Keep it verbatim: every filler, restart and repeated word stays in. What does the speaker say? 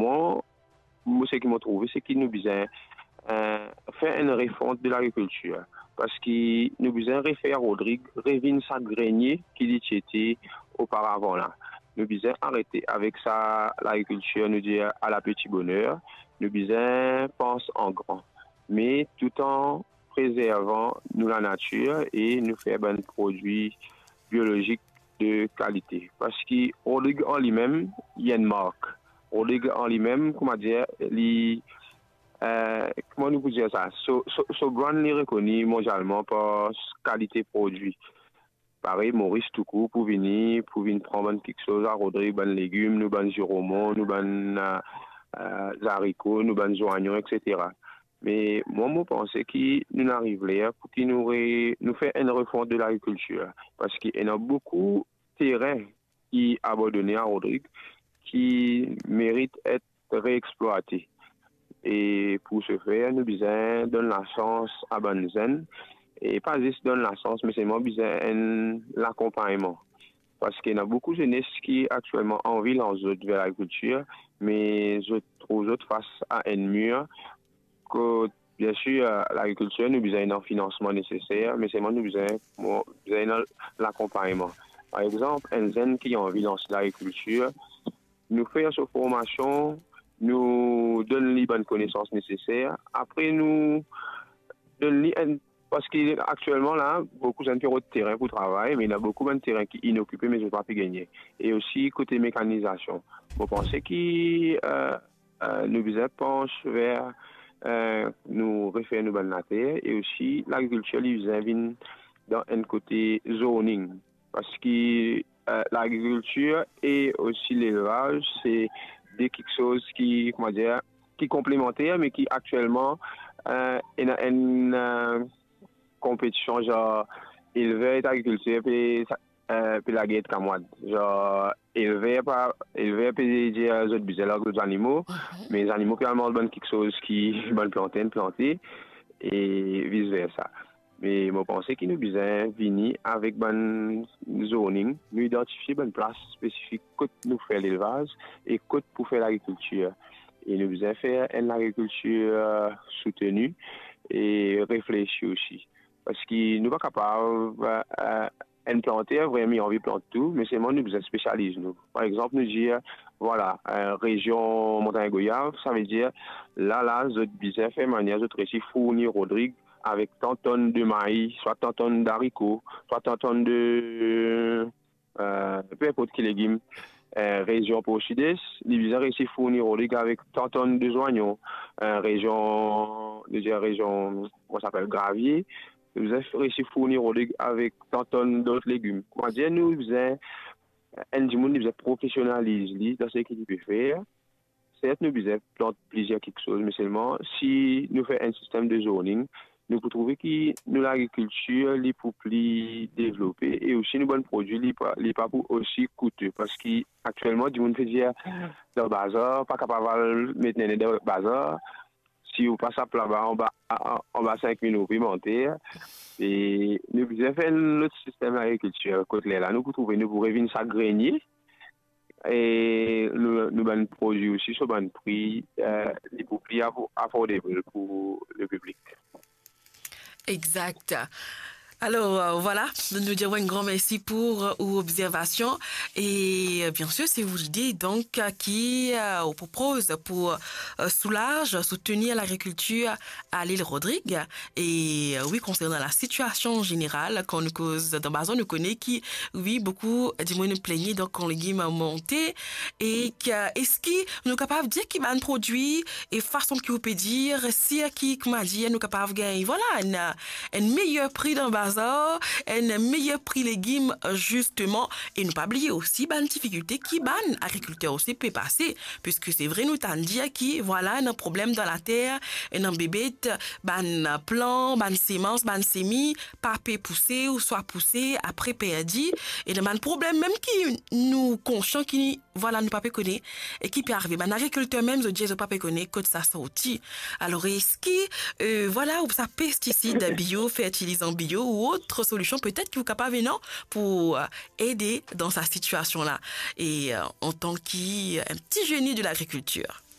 mwa, mo, seki mo trouve, seki nou bizin, eh, fer enn refont de lagrikiltir. Parski nou bizin refer Rodrig revinn sa grenie ki li ti ete oparavan la. Nou bizin arete avek sa lagrikiltir, nou dir, à la petit bonheur. Nou bizin pans an gran. Me tout an prezervan nou lanatir e nou fer bann prodwi biolozik de kalite. Parski Rodrig an limem, li enn mark. Rodrig an limem, kouma dir, li, eh, kouma nou pou dir sa? So, so, so brand li rekoni mondialman par s-, kalite prodwi. Parey, Moris toukour pou vini, pou vinn pran bann kiksoz a Rodrig, bann legim, nou bann ziromon, nou bann, eh, eh, zariko, nou bann zwanyon, et cetera. Me mwa, mo panse ki nou'nn ariv ler pou ki nou re-, nou fer enn refont de lagrikiltir, parski ena boukou terin ki abandone a Rodrig, ki merit et reexplwate. E pou se fer, nou bizin donn lasans a bann zenn, e pa zis donn lasans, me selman bizin enn lakonpagnman. Parski ena boukou zenes ki aktielman anvi lans zot ver lagrikiltir, me zot trouv zot fas a enn mir, kot, biensir, lagrikiltir, nou bizin ena finansman neseser, me selman nou bizin, mo, bizin ena lakonpagnman. Par exanp, enn zenn ki anvi lans lagrikiltir, nou fer so formasion, nou donn li bann konesans neseser, apre nou donn li enn, parski aktielman la, boukou zenn pe rod terin pou travay, me ena boukou bann terin ki inokipe, me zot pa pe gagne. E osi kote mekanizasion. Mo panse ki, eh, eh, nou bizin pans ver, eh, nou refer nou bann later, e osi lagrikiltir, li bizin vinn dan enn kote zoning. Parski, eh, lagrikiltir e osi lelvaz, se de kiksoz ki, kouma dir, ki konplemanter, me ki aktielman, eh, ena enn, eh, konpetision, zar elver ek agrikilter pe, eh, pe lager kamwad. Zar elver pa, elver pe dir zot bizin larg zot zanimo, me zanimo pe al manz bann kiksoz ki bann planter inn plante, e vis versa. Me mo panse ki nou bizin vini avek bann zoning, nou idantifie bann plas spesifik kot nou fer lelvaz e kot pou fer lagrikiltir. E nou bizin fer enn lagrikiltir, eh, souteni e reflesi osi. Parski nou pa kapav, eh, enn planter vremem li anvi plant tou, me selman nou bizin spesializ nou. Par exanp, nou dir, vwala, eh, rezion Montagn Goyav, savedir, la, la, zot bizin fer manier zot resi fourni Rodrig avek tan tonn de mayi, swa tan tonn dariko, swa tan tonn de, eh, pe inport ki legim. Eh, rezion Port Sud-Est, li bizin resi fourni Rodrig avek tan tonn de zwanyon. Eh, rezion, nou dir rezion, kouma sa apel, Gravier, li bizin resi fourni Rodrig avek tan tonn dot legim. Kouma dir, nou bizin, enn dimoun, li bizin profesionaliz li dan seki li pe fer. Sert, nou bizin plant plizier kiksoz, me selman si nou fer enn sistem de zoning, nou pou trouve ki nou lagrikiltir, li pou pli devlope, e osi nou bann prodwi, li pa, li pa pou osi koute, parski aktielman, dimoun pe dir, dan bazar, pa kapav al met nene dan bazar, si ou pa sap laba anba, a-, a-, anba sink mil roupi manter, e nou bizin fer enn lot sistem lagrikiltir, kot lerla nou pou trouve, nou pou revinn sa grenie, e nou, nou bann prodwi osi, so bann pri, eh, li pou pli afo-, affordable pou lepiblik. Exact. Alors, euh, voilà, nou dir enn gran mersi pou, euh, ou observation. Et, euh, bien sûr, c'est vous l'idée, donc, euh, qui, euh, on propose pour, euh, soulager, soutenir l'agriculture à l'île Rodrigue. Et, euh, oui, concernant la situation générale, kan nou koz dan bazar, nou kone ki, oui, boukou dimoun plengn, donk, kan legim monte, e ki, eski nou kapav dir ki bann prodwi e fason ki ou pe dir, si ki, kouma dir, nou kapav gagn, vwala, enn, enn meyer pri dan bazar, enn meyer pri legim, zisteman, e nou pa bliye osi bann difikilte ki bann agrikilter osi pe pase, piske se vre nou tann dir ki, vwala, ena problem dan later, ena bebet, bann plan, bann semans, bann semi, pa pe pouse ouswa pouse, apre perdi, e ena bann problem mem ki nou konsian ki, vwala, nou pa pe kone, e ki pe arive. Bann agrikilter mem, zot dir zot pa pe kone kot sa sorti. Alor, eski, euh, vwala, ou sa pestisid bio, fertilizan bio ou ot solision petet ki ou kapav ena pou, euh, ede dan sa sitiasion la? E, euh, antan ki, euh, enn ti zeni de lagrikiltir.